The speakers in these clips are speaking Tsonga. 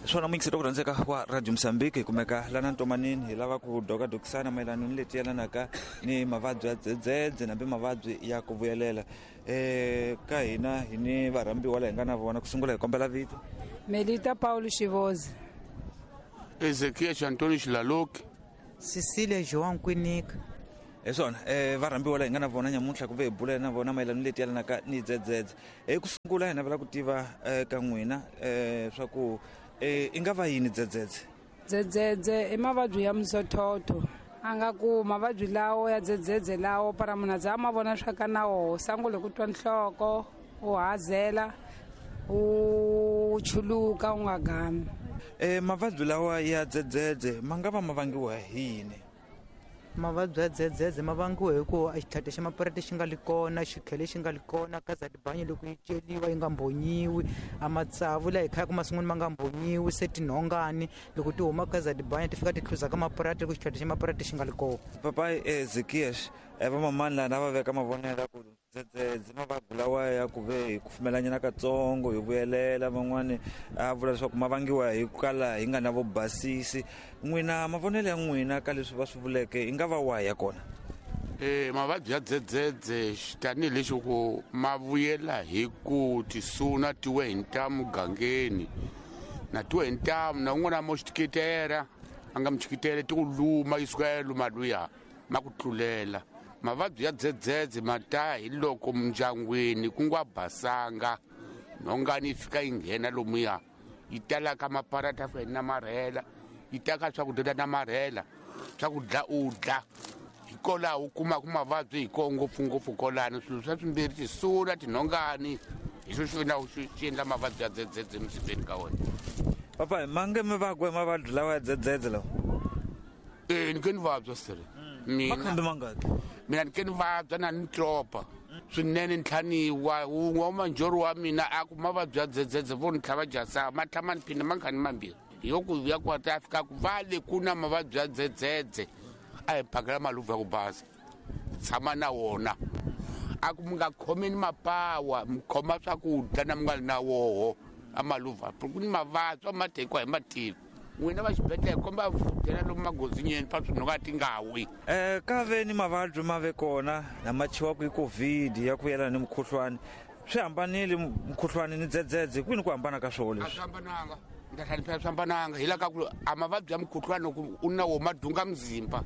Swona muyingiseri wa ku rhandzeka wa Radio Mozambique, hi kumeka lana Ntomanini, hi lava ku dokadokisana mayelana ni leti yelanaka ni mavabyi ya dzedzedze nambi mavabyi ya ku vuyelela. Ka hina hi ni varhambiwa la hi nga na vona. Ku sungula hi kombela vito. Melita Paulo Xivozi. Ezekiel Antonio Xilaloki. Cecilia João Kwinika. Hi swona, varhambiwa la hi nga na vona nyamuntlha ku ve hi bula na vona mayelana ni leti yelanaka ni dzedzedze. Ku sungula hi navela ku tiva ka n'wina swa ku i nga va yini dzedzedze? Dzedzedze i mavabyi ya mzothotho. A nga ku mavabyi lawo ya dzedzedze lawo para munhu a za ma vona swa ka na woho, sangule ku twa nhloko, u hazela, u chuluka u nga gami. Mavabyi lawa ya dzedzedze ma nga va ma vangiwa hi yini? Mavabyi ya dzedzedze ma vangiwa hi ku a xitlhati xa mapurati xi nga li kona, xikhele xi nga li kona, kazadibanyi loko yi celiwa yi nga mbonyiwi, a matsavu laha hi khayaka masin'wini ma nga mbonyiwi, se tinhongani loko ti huma kazadibanyi ti fika ti hluza ka mapurati loko xitlhati xa mapurati xi nga li kona. Papa Ezekias, vamamani laha na va veka mavonelo ya ku dzedzedze mavabyi lawa ya ku ve hi kufumelanyana katsongo hi vuyelela, van'wani a vula leswaku ma vangiwa hi ku kala hi nga na vubasisi. N'wina mavonelo ya n'wina ka leswi va swi vuleke i nga va wahi ya kona? Mavabyi ya dzedzedze tanihileswi ku ma vuyela hi ku tisuna tiwe hi ntamu gangeni na tiwe hi ntamu na un'wana mo xitikitela a nga muchikitele ti ku luma yi suka ya luma luya ma ku tlulela. Mavabyi ya dzedzedze ma ta hi loko mindyangwini ku nga basanga, nhongani yi fika yi nghena lomuya yi tala ka maparata ya fika yi namarhela, yi ta ka swakudya ta namarhela, swakudya u dla. Hi kolaho u kumaka mavabyi hi koho ngopfungopfu kolano. Swilo swa swimbirhi, tisuna, tinhongani, hi swo xi endla xi endla mavabyi ya dzedzedze emzimbeni ka wena. Papa, ma nge mi vakwe mavabyi lawa ya dzedzedze lawa? Ni ke ni vabya sir. Mina Makhambi mangaki? Mina ni ke ni vabya na ni tlopa swinene, ni tlhaniwa wun'we wa manjhori wa mina a ku mavabyi ya dzedzedze vo ni tlhava jasa ma tlha ma ni phinda ma nkhani mambirhi. Hi yo ku ya ku ta fika ku va le ku na mavabyi ya dzedzedze a hi phakela maluvu ya ku basa tshama na wona, a ku mi nga khomeni mapawa, mi khoma swakudya na mi nga ri na woho a maluva, ku ni mavabyi a ma tekiwa hi matiko. N'wina va xibedhlele komba vhutela lomu magozinyeni pa swinhonga ti nga wi. Ka ve ni mavabyi ma ve kona lama thyiwaka hi COVID ya ku yelana ni mukhuhlwani, swi hambanile mukhuhlwani ni dzedzedze, kwini ku hambana ka swona leswi? A swi hambananga, ni ta tlhela swi hambananga hi la ka ku a mavabyi ya mukhuhlwani loko u na wo ma dunga muzimba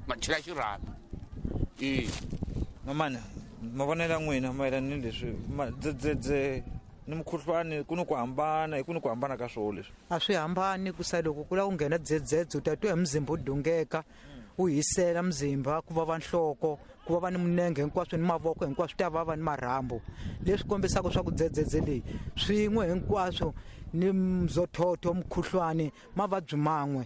ma chela xirhami. Mamani, mavonelo ya n'wina mayelana ni leswi dzedzedze ni mukhuhlwani ku ni ku hambana, hi ku ni ku hambana ka swona leswi? A swi hambani, ku sa loko ku lava ku nghena dzedzedze u ta twa hi muzimba u dungeka, u hisela muzimba, ku vava nhloko, ku vava ni minenge hinkwaswo ni mavoko hinkwaswo ta vava ni marhambu, leswi kombisaka swa ku dzedzedze leyi swin'we hinkwaswo ni mzothotho, mukhuhlwani, mavabyi man'we,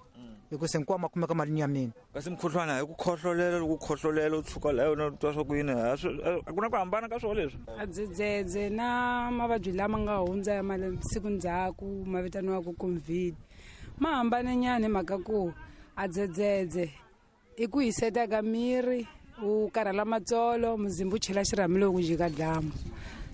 hikuva hinkwawo ma kumeka ma ri nyameni. Kasi mukhuhlwani a hi ku khohlolela, loko u khohlolela u tshuka laha yona u twa swa ku yini, a ku na ku hambana ka swona leswi? A dzedzedze na mavabyi lama nga hundza ya masiku ndzhaku ma vitaniwaka COVID ma hambane nyana hi mhaka ku a dzedzedze i ku hiseta ka miri, u karhala matsolo, muzimba u chela xirhami loko ku jika dyambu.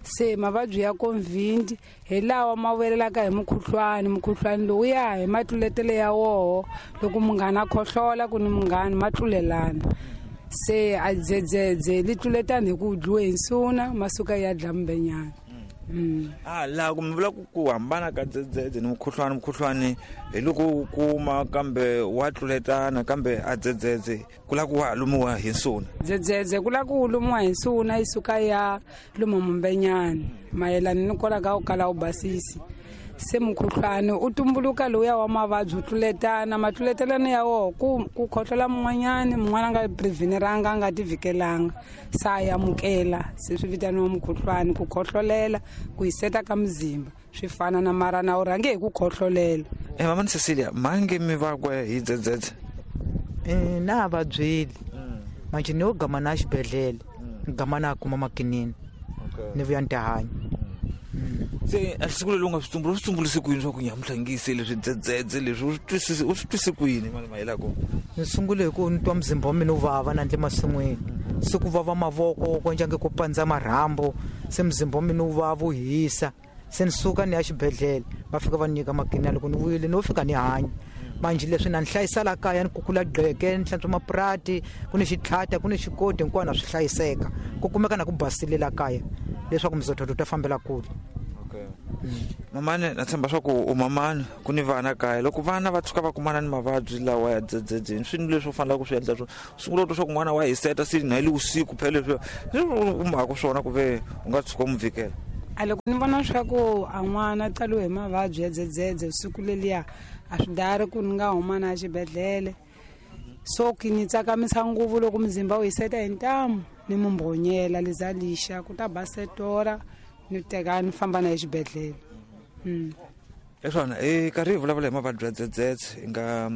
Se mavabyi ya COVID hi lawa ma vuyelelaka hi mukhuhlwani, mukhuhlwani lowu ya hi matluletelo ya woho, loko munghana a khohlola ku ni munghana ma tlulelana. Se a dzedzedze li tluletana hi ku dliwe hi nsuna ma suka ya dla mbenyana. Laha ku mi vula ku hambana ka dzedzedze ni mukhuhlwani, mukhuhlwani hi loko u kuma kambe wa tluletana, kambe a dzedzedze ku lava ku wa ha lumiwa hi nsuna. Dzedzedze ku lava ku lumiwa hi nsuna yi suka ya luma mumbenyani mayelana ni kola ka ku kala u basisi. Se mukhuhlwani u tumbuluka lowuya wa mavabyi u tluletana, matluletelano ya woho ku khohlola mun'wanyani, mun'wana a nga preveniranga, a nga ti vhikelanga, se a amukela, se swi vitaniwa mukhuhlwani, ku khohlolela, ku hiseta ka muzimba swi fana na mara na u rhange hi ku khohlolela. Mama ni Cecilia, mange mi vakwe hi dzedzedze? Na vabyeli manje ni yo gama na xibedhlele, ni gama na kuma makinini, ni vuya ni ta hanya. Se a siku leri u nga swi tsumbula, u swi tsumbulise ku yini swa ku nyamuntlha ngise leswi dzedzedze leswi, u swi twise ku yini mali mayela kona? Ni sungule hi ku ni twa muzimba wa mina wu vava na ndle masin'wini, se ku vava mavoko ku endla nge ku pandza marhambu, se muzimba wa mina wu vava wu hisa. Se ni suka ni ya xibedhlele, va fika va ni nyika makinina. Loko ni vuyile no fika ni hanya. Manjhe leswi na ni hlayisa la kaya, ni kukula gqeke, ni hlantswa mapurati, ku ni xitlhata, ku ni xikoti, hinkwana swi hlayiseka. Ku kumeka na ku basile la kaya leswaku mizotho ta fambela kule. Okay. Mamani, na tshemba swa ku u mamani, ku ni vana kaya. Loko vana va tshuka va kumana ni mavabyi lawa ya dzedzedze, swi ni leswi u faneleke ku swi endla swona. Sungula u twa swa ku n'wana wa hiseta se na hi le vusiku phela leswi u mhaka swona ku ve u nga tshuka u n'wi vikela. A loko ni vona swa ku a n'wana qaliwe hi mavabyi ya dzedzedze vusiku leliya, a swi dari ku ni nga huma na xibedhlele. So ki ni tsakamisa ngopfu loko muzimba wu hiseta hi ntamu, ni mu mbhonyela liza lixa ku ta ba setora, ni teka ni famba na ye xibedhlele. Leswona hi karhi hi vulavula hi mavabyi ya dzedzedze hi nga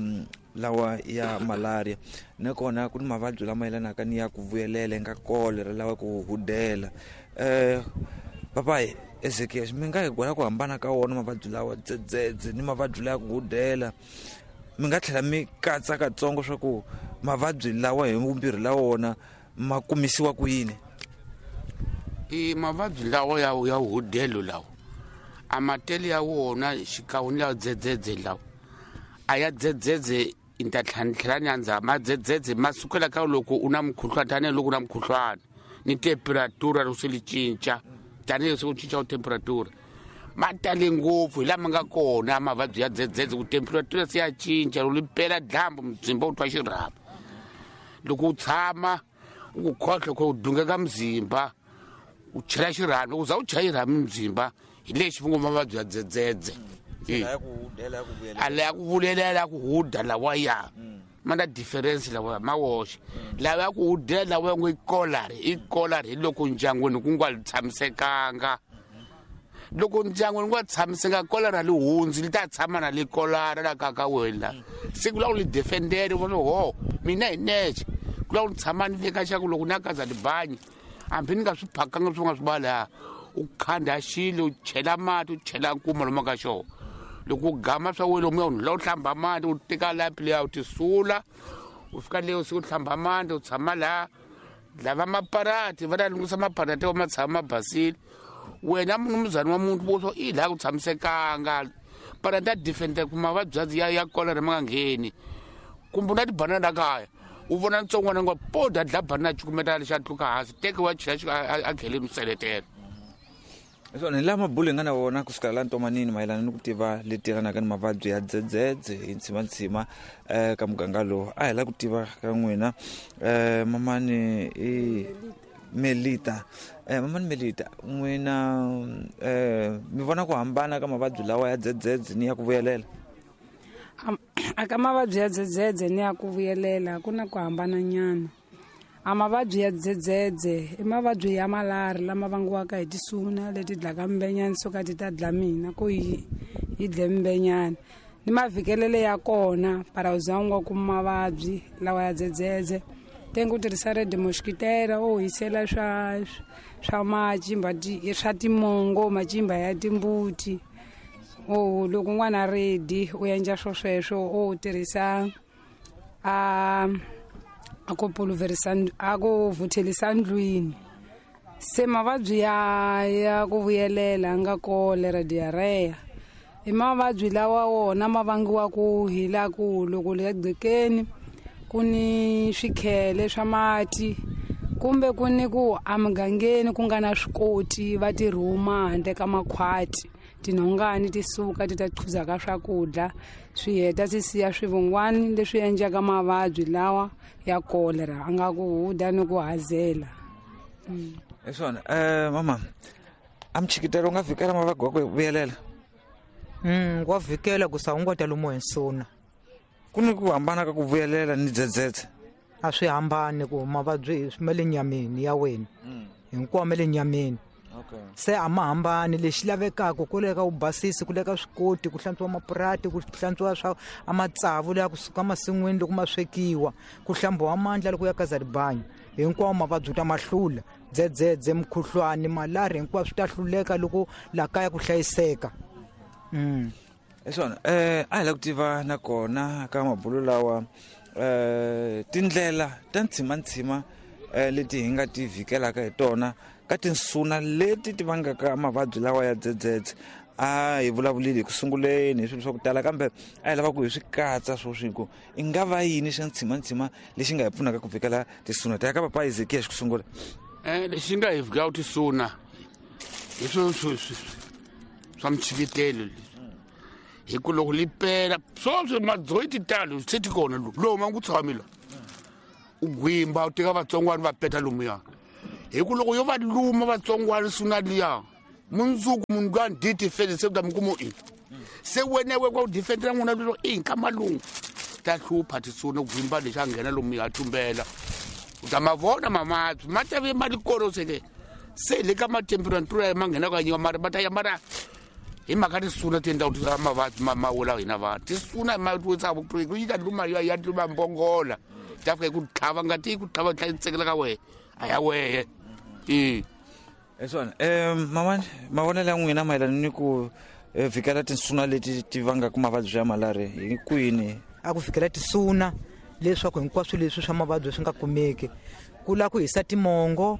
lawa ya malaria, nakona ku ni mavabyi lama yelanaka ni ya ku vuyelela nga kolera lawa ku hudela. Papayi Ezekiel, mi nga hi gwela ku hambana ka wona mavabyi lawa dzedzedze ni mavabyi lawa ya ku hudela? Mi nga tlhela mi katsa katsongo swa ku mavabyi lawa hi vumbirhi la wona ma kumisiwa ku yini? I mavabyi lawa ya hudelo lawa a matele ya wona xikan'we ni lawa dzedzedze lawa a ya dzedzedze i ta tlhela ni andza madzedzedze ma sukela ka loko u na mukhuhlwana, tanihiloko u na mukhuhlwana ni temperatura loko se li cinca, tanihiloko se ku cinca temperatura ma tale ngopfu hi lama nga kona mavabyi ya dzedzedze, ku temperatura se ya cinca loko li pela dyambu muzimba wu twa xirhapa. Loko u tshama u ku khohlo ku dungeka muzimba u chela xirhami, loko u za u chela xirhami muzimba hi lexi va ngo mavabyi ya dzedzedze. A la ya ku vulela la ku huda lawa ya ma na difference lawa ma woxe. Lawa ya ku hudela lawa ya ngo i kolari, i kolari hi loko ndyangwini ku nga tshamisekanga. Loko ndyangwini ku nga tshamisekanga, kolari a li hundzi, li ta tshama na li kolari la ka ka wena. Siku la ku li defendere, u vona ho mina hi nexe ku la ku ni tshama ni veka xa ku loko ni ya kaza tibanyi hambi ni nga swi phakanga swi nga swi va laha, u khanda xilo, u chela mati, u chela nkuma lomu ka xona. Loko u gama swa wena lomuya, u la u hlamba mati, u teka lapi liya u tisula, u fika leyo siku u hlamba mati, u tshama laha. Lava maparati va ta lunghisa maparati wa ma tshama ma basile. Wena munumuzana wa muntu vo swo i laha ku tshamisekanga, parati ya defender ku mavabyi ya kolera ma nga ngheni. Kumbe u na tibanana kaya, u vona ntsongwana ngo po da dla banana cukumeta lexa tluka hansi, teke wa chela a kheleni u seletela. Swona hi laha mabulo hi nga na wona kusukela laha ntomanini mayelana ni ku tiva leti yelanaka ni mavabyi ya dzedzedze hi ntshimantsima ka muganga lowu. A hi la ku tiva ka n'wina mamani i Melita. Mamani Melita, n'wina mi vona ku hambana ka mavabyi lawa ya dzedzedze ni ya ku vuyelela? A ka mavabyi ya dzedzedze ni ya ku vuyelela ku na ku hambana nyana. A mavabyi ya dzedzedze i mavabyi ya malari lama vangiwaka hi tisuna leti dlaka mbenyani, suka ti ta dla mina ku yi dle mbenyani. Ni mavikelele ya kona para u za u nga kumi mavabyi lawa ya dzedzedze. Tenge u tirhisa red mosquitera, u hisela swa macimba swa timongo, macimba ya timbuti. O loko n'wana ready u endla swo sweswo, u tirhisa a ku pulverisa, a ku vuthelisa ndlwini. Se mavabyi ya ku vuyelela nga kolera, diarrhea i mavabyi lawa wona ma vangiwa hi la ku loko le gqekeni ku ni swikhele swa mati, kumbe ku ni ku emugangeni ku nga na swikoti va ti rhuma handle ka makhwati, tinhongani ti suka ti ta chuza ka swakudya, swi heta swi siya swivungwani leswi endlaka mavabyi lawa ya kolera, a nga ku huda ni ku hazela. Hi swona. Mama, a mchikitelo u nga vhikela mavabyi wa ku vuyelela? Wa vhikela ku sa u nga ta lumiwa hi nsuna. Ku ni ku hambana ka ku vuyelela ni dzedzedze? A swi hambani, ku mavabyi ma le nyameni ya wena. Hinkwawo ma le nyameni. Se a ma hambani. Lexi lavekaka ku leka u basisi, ku leka swikoti, ku hlantswiwa mapurati, ku hlantswiwa swa a matsavu leya kusuka masin'wini loko ma swekiwa, ku hlambiwa mandla loko ya kaza ribanyo. Hinkwawo mavabyi u ta ma hlula. Dzedzedze, mukhuhlwani, malari, hinkwaswo swi ta hluleka loko la kaya ku hlayiseka. Hi swona. A hi la ku tiva nakona ka mabulo lawa tindlela ta ntshimantsima leti hi nga ti vhikelaka hi tona ka tinsuna leti ti vangaka mavabyi lawa ya dzedzedze. A hi vulavulile hi ku sunguleni hi swilo swa ku tala, kambe a hi lava ku hi swi katsa swoswi ku i nga va yini xa ntshimantsima lexi nga hi pfunaka ku vhikela tisuna. Ta ya ka papa Ezekiya xi ku sungula. Lexi nga hi vhikela tisuna hi swo swa mchikitelo leswi, hi ku loko li pela swoswi madzoyi ti talo se ti kona lomu a ku tshami la u gwimba u teka vatsongwana va peta lomuya, hi ku loko yo va luma vatsongwana suna liya mundzuku munhu loyi a ni dyi se u ta mi kuma i se wena we ku defendela n'wina lero i ka malungu ta hlupha tisuna gwimba lexi a nghena lomu ya tumbela u ta ma vona mavabyi ma ta ve ma li kona seke se le ka matemperatura ma nghena ka nyiwa mara ma ta ya mara hi mhaka tisuna ti endla ku mavabyi ma wela hina vanhu. Tisuna ma wisa yi ta luma ya luma mbongola ta fika ku tlhava ngati yi ku tlhava tlha yi tsekela ka wehe a ya wehe. Hi swona. Mamani, mavonelo ya n'wina mayelana ni ku vhikela tinsuna leti ti vangaka mavabyi ya malaria hi kwini? A ku vhikela tisuna leswaku hinkwaswo leswi swa mavabyi swi nga kumeki, ku lava ku hisa timongo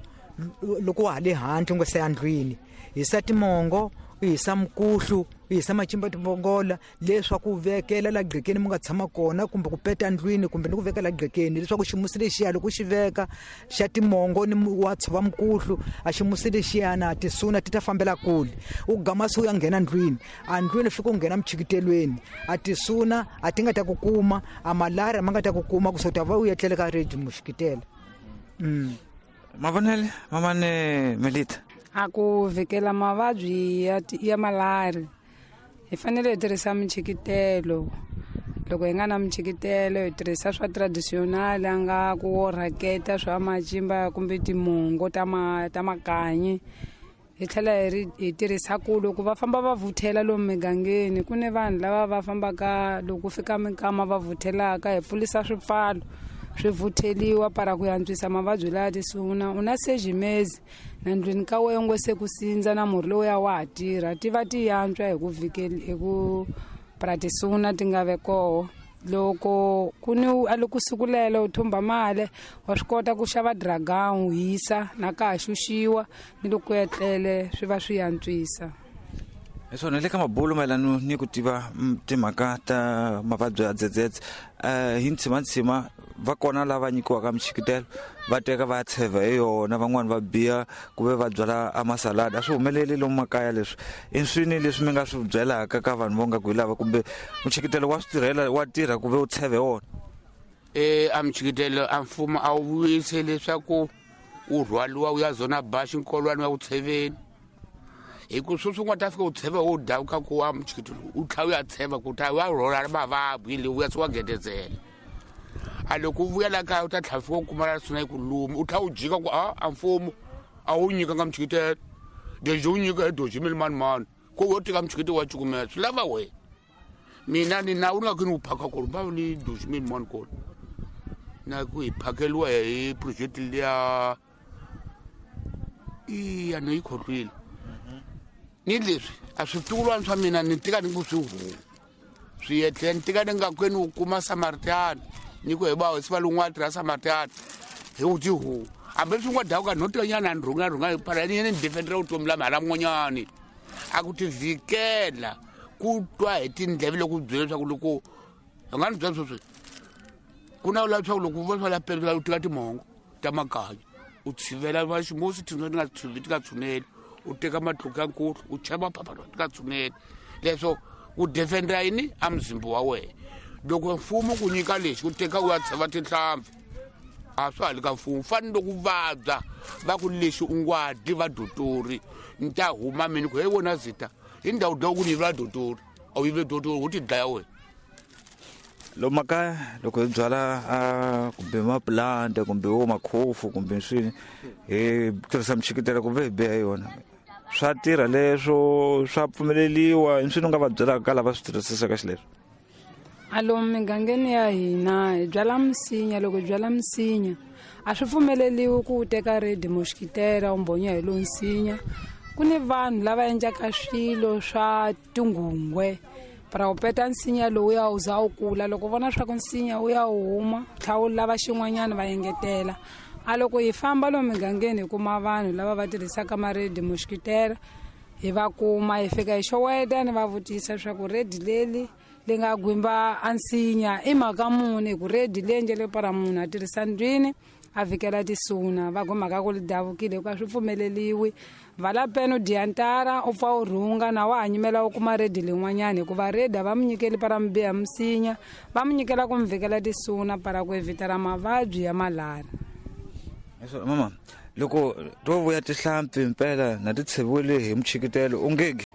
loko wa ha le handle u nga se ya ndlwini, hisa timongo, u hisa mikuhlu, u hisa macimba timbongola leswaku u vekela la gqekeni mi nga tshama kona, kumbe ku peta ndlwini, kumbe ni ku vekela gqekeni leswaku ximusi lexiya loko xi veka xa timongo ni wa tshova mikuhlu, a ximusi lexiyana tisuna ti ta fambela kule. U gama se u ya nghena ndlwini, a ndlwini fika u nghena mchikitelweni, a tisuna a ti nga ta ku kuma, a malaria ma nga ta ku kuma, ku se u ta va u etlele ka redi muxikitela. Mavonele mamane Melita, a ku vhikela mavabyi ya malaria hi fanele hi tirhisa michikitelo. Loko hi nga na michikitelo hi tirhisa swa traditional, a nga ku wo rhaketa swa macimba kumbe timongo ta makanyi. Hi tlhela hi tirhisa ku loko va famba va vuthela lomu migangeni, ku ni vanhu lava va fambaka loko fika minkama va vuthelaka, hi pfulisa swipfalo swi vutheliwa para ku antswisa mavabyi laya tisuna. U na sejimezi na ndlwini ka wena ngo se ku sindza na murhi lowuya wa ha tirha, ti va ti yantswa hi ku hi ku para tisuna ti nga ve koho. Loko ku ni a loko siku lelo u thumba mali wa swi kota ku xava dragon u hisa na ka ha xuxiwa ni loko etlele swi va swi antswisa. Hi swona le ka mabulo mayelana ni ku tiva timhaka ta mavabyi ya dzedzedze, hi ntshimantsima va kona lava nyikiwaka michikitelo va teka va tsheva hi yona, van'wani va biya ku ve va byala a masaladi. A swi humeleli lomu makaya leswi. I swini leswi mi nga swi byelaka ka vanhu vo nga ku hi lava, kumbe muchikitelo wa swi tirhela wa tirha ku ve u tsheve wona? A michikitelo a mfumo a wu vuyise leswaku u rhwaliwa u ya zona baxi nkolwani wa ku tsheveni, hi ku sweswi u nga ta fika u tsheva wo davuka ku wa muchikitelo u tlhela u ya tsheva ku ta wa rhwala mavabyi le u ya se wa gedezela. A loko u vuya la kaya u ta tlhela fika u kuma la suna yi ku luma, u tlhela u jika ku a mfumo a wu nyikanga muchikitelo deji wu nyika hi doji mi mani mani ku wo teka muchikitelo wa cukumela swi lava wena. Mina ni na u nga ku ni wu phaka kona va ni doji mi mani kona na ku hi phakeliwa hi project liya iya ni yi khohlwile. Ni leswi a switukulwana swa mina ni tika ni ku swi huma swi etlela ni tika ni nga kweni u kuma Samaritana ni ku hi va hosi va lun'wana tirha Samaritana hi u ti huma hambi swi nga dawuka no tika nyana ni rhunga rhunga para ni ni defendera vutomi la mhala mun'wanyani. A ku ti vhikela ku twa hi tindleve loko u byela leswaku loko u nga ni byela sweswi ku na leswaku loko u vona swa la pela u tika timongo ta makanyi u tshivela va ximusi tinso ti nga tshuvi ti nga tshuneli, u teka matluka ya nkulu u chela maphapha ti nga tshuneli. Leswo ku defendera yini a muzimba wa wena. Loko mfumo ku nyika lexi u teka u ya tsheva tinhlampfi a swa ha le ka mfumo. Fani loko u vabya va ku lexi u nga dyi va dotori ni ta huma mina ku he wena zita hi ndhawu dya ku ni yivela dotori a wu yive dotori u ti dlaya wena. Lomu makaya loko hi byala kumbe maplanta kumbe wo makhofu kumbe swini hi tirhisa michikitelo kumbe hi biha yona, swa tirha leswo, swa pfumeleliwa? I swini u nga va byelaka ka lava swi tirhisisaka xileswo? A lomu migangeni ya hina hi byala misinya. Loko hi byala misinya a swi pfumeleliwi ku u teka redi moxikitela u mbonya hi lowu nsinya. Ku ni vanhu lava endlaka swilo swa tinghungwe para u peta nsinya lowu ya wu za wu kula. Loko u vona swa ku nsinya wu ya wu huma, tlhela wu lava xin'wanyana va engetela. A loko hi famba lomu migangeni hi kuma vanhu lava va tirhisaka maredi muxikitela, hi va kuma hi fika hi xoweta ni va vutisa leswaku redi leri li nga gwimba a nsinya i mhaka muni, hi ku redi leyi njhe para munhu a tirhisa ndlwini a vhikela tisuna, va ku mhaka ku li davukile hikuva swi pfumeleliwi. Vala peni u dya ntara u pfa u rhunga na wa ha nyimela u kuma redi lin'wanyana, hikuva redi a va mu nyikeli para mi biha misinya, va mu nyikela ku mi vhikela tisuna para ku evitela mavabyi ya malari. Mama, loko to vuya tihlampfi mpela na ti tsheviwile hi muchikitelo u nge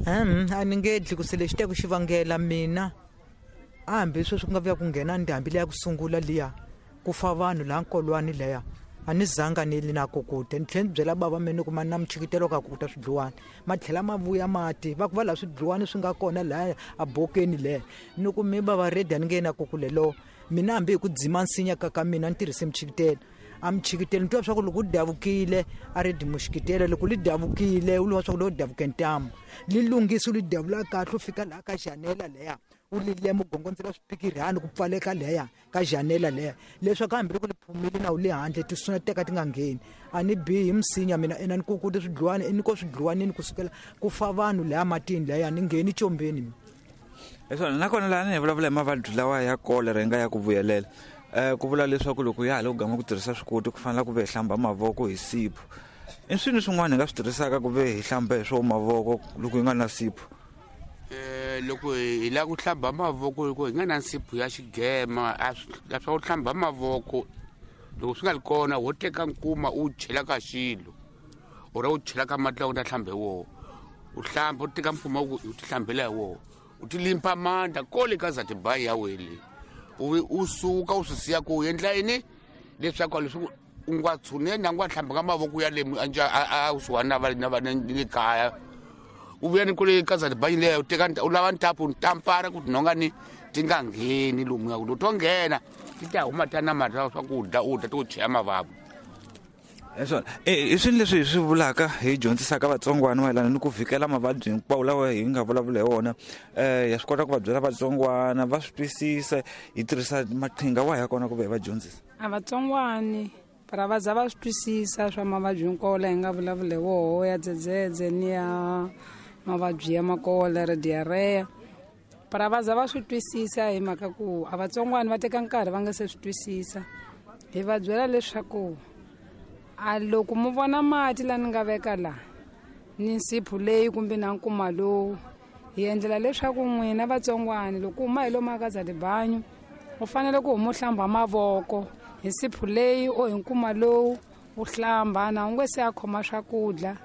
a ni nge dli ku se lexi teku xivangela mina hambi sweswi ku nga vuya ku nghena ndhambi leya ku sungula liya ku fa vanhu laha nkolwani leya a ni zanga ni li na kukuta. Ni tlhela ni byela bava mina ku ma na muchikitelo ka kukuta swidluwani, ma tlhela ma vuya mati va ku va laha swidluwani swi nga kona laha a bokeni leya. Ni ku mi bava redi a ni nge na kukulelo mina, hambi hi ku dzima nsinya ka mina ni tirhise muchikitelo. A muchikitelo ni twa swa ku loko u davukile a redi muxikitelo, loko li davukile u liwa swa ku lo davuke ntamu li lunghisa u li davula kahle u fika laha ka janela leya u li lema u gongondzela swipikirhani ku pfaleka leya ka janela leya, leswaku hambi loko li phumile na u le handle tisuna teka ti nga ngheni. A ni bihi misinya mina ena ni kukuti swidluwani ni ko swidluwanini kusukela ku fa vanhu leya matini leya ni ngheni combeni mina. Leswona nakona laha ni hi vulavula hi mavabyi lawa ya kolera yi nga ya ku vuyelela, ku vula leswaku loko ya ha le ku gama ku tirhisa swikoti ku fanele ku ve hi hlamba mavoko hi sipho. I swini swin'wana hi nga swi tirhisaka ku ve hi hlamba hi swo mavoko loko hi nga na sipho? Loko hi lava ku hlamba mavoko loko hi nga na nsipho ya xigema, a swa ku hlamba mavoko loko swi nga ri kona wo teka nkuma u chela ka xilo or u chela ka mati lawa u ta hlamba hi wona, u hlamba u teka mpfuma u ti hlambela hi wona, u ti limpa mandla kole ka zatibayi ya wele u suka u swi siya ku endla yini leswaku leswi u nga tshuneni a nga hlamba ka mavoko ya le a kusuhani na va na va le kaya, u vuya ni kule ka zatibayi leyo u teka u lava ntapu ntampara ku tinhonga ni ti nga ngheni lomuya, ku to nghena ti ta huma ta namarha swakudya u dya ti ku cheya mavabyi. Leswona i swini leswi hi swi vulaka hi dyondzisaka vatsongwana mayelana ni ku vhikela mavabyi hinkwawo lawa hi nga vulavula hi wona? Ya swi kota ku va byela vatsongwana va swi twisisa, hi tirhisa maqhinga wahi ya kona ku va hi va dyondzisa? A vatsongwani para va za va swi twisisa swa mavabyi hinkwawo laha hi nga vulavula hi woho ya dzedzedze ni ya mavabyi ya makolera diarrhea, para va za va swi twisisa hi mhaka ku a vatsongwani va teka nkarhi va nga se swi twisisa. Hi va byela leswaku a loko mu vona mati la ni nga veka la ni nsipho leyi kumbe na nkuma lowu, hi endlela leswaku n'wina vatsongwani loko huma hi lomu aka zatibanyu u fanele ku huma u hlamba mavoko hi nsipho leyi o hi nkuma lowu u hlamba na u nge se a khoma swakudya.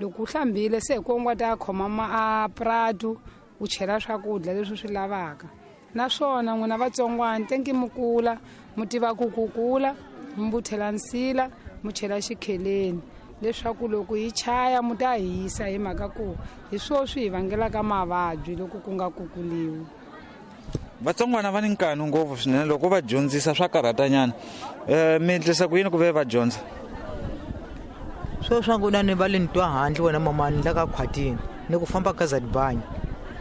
Loko u hlambile se hi ku u nga ta khoma a pratu u chela swakudya leswi swi lavaka. Naswona n'wina vatsongwani tenki mi kula mu tiva ku kukula mi vuthela nsila mu chela xikheleni leswaku loko yi chaya mu ta hisa, hi mhaka ku hi swo swi hi vangelaka mavabyi loko ku nga kukuliwi. Vatsongwana va ni nkanu ngopfu swinene loko va dyondzisa swa karhatanyana. Mi endlisa ku yini ku ve va dyondza? Swo swa ku na ni va le ni twa handle wena mamani la ka khwatini ni ku famba ka zatibanyu,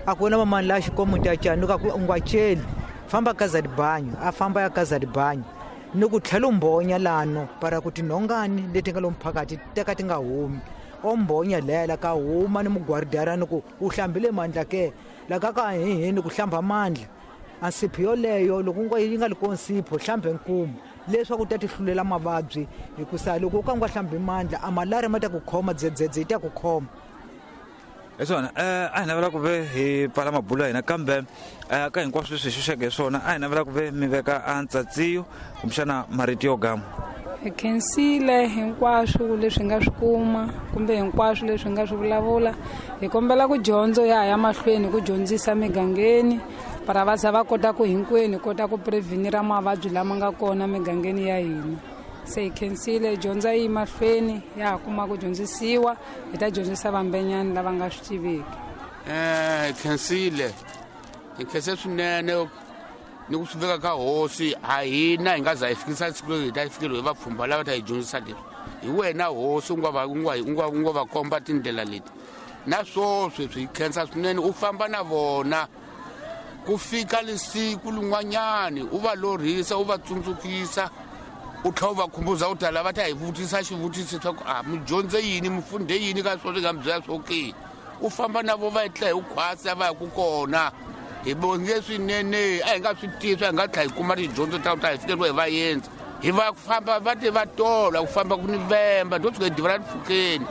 a ku wena mamani la xikomu ta cani ni ku u nga celi famba ka zatibanyu, a famba ya ka zatibanyu ni ku tlhela u mbonya lano para ku tinhongani leti nga lomu phakathi teka ti nga humi, o mbonya leya la ka huma ni mugwaridara ni ku u hlambile mandla ke la ka ka hihi ni ku hlamba mandla. A nsipho yoleyo loko u yi nga li ko nsipho hlambe nkumu leswaku u ta ti hlulela mavabyi, hikusa loko u ka u nga hlambi mandla a malari ma ta ku khoma, dzedzedze yi ta ku khoma. Leswona a hi navela ku ve hi pfala mabulo ya hina, kambe ka hinkwaswo leswi hi xuxeke hi swona a hi navela ku ve mi veka a ntsatsiyo kumbexana marito yo gama. Hi khensile hinkwaswo leswi hi nga swi kuma kumbe hinkwaswo leswi hi nga swi vulavula. Hi kombela ku dyondzo ya ha ya mahlweni ku dyondzisa migangeni para va za va kota ku hinkwenu hi kota ku prevenira mavabyi lama nga kona migangeni ya hina. Se hi khensile dyondza yi mahlweni ya ha kuma ku dyondzisiwa, hi ta dyondzisa vambenyani lava nga swi tiveki. Khensile hi khense swinene ni ku swi veka ka hosi, a hina hi nga za hi fikisa siku leri hi ta fikeriwa hi vapfhumba lava ta hi dyondzisa leswi. Hi wena hosi u nga va komba tindlela leti, na swoswi swi khensa swinene u famba na vona ku fika lesiku lin'wanyani u va lorhisa u va tsundzukisa U tlhela u va khumbuza u ta lava ta hi vutisa xivutiso swa ku a mi dyondze yini, mi fundhe yini ka swo nga mi byela swo ke. U famba na vo va etlela hi khwasa va ya ku kona. Hi bonge swinene, a hi nga swi tivi, a hi nga tlhela hi kuma tidyondzo ta ku ta hi fikeriwa hi vaendzi. Hi va famba va te va tola ku famba ku ni vemba, to tshuka hi divela mpfhukeni.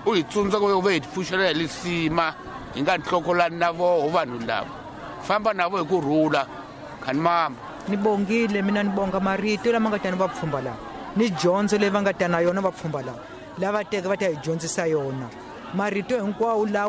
U hi tsundzuka ku ve hi pfuxela hi lisima, hi nga nhlokolani na voho vanhu lava. Famba na vo hi ku rhula, khani mamba. Ni bongile mina, ni bonga marito lama nga ta ni vapfhumba lava, ni dyondzo leyi va nga ta na yona vapfhumba lava, lava teke va ta hi dyondzisa yona. Marito hinkwawo lawa.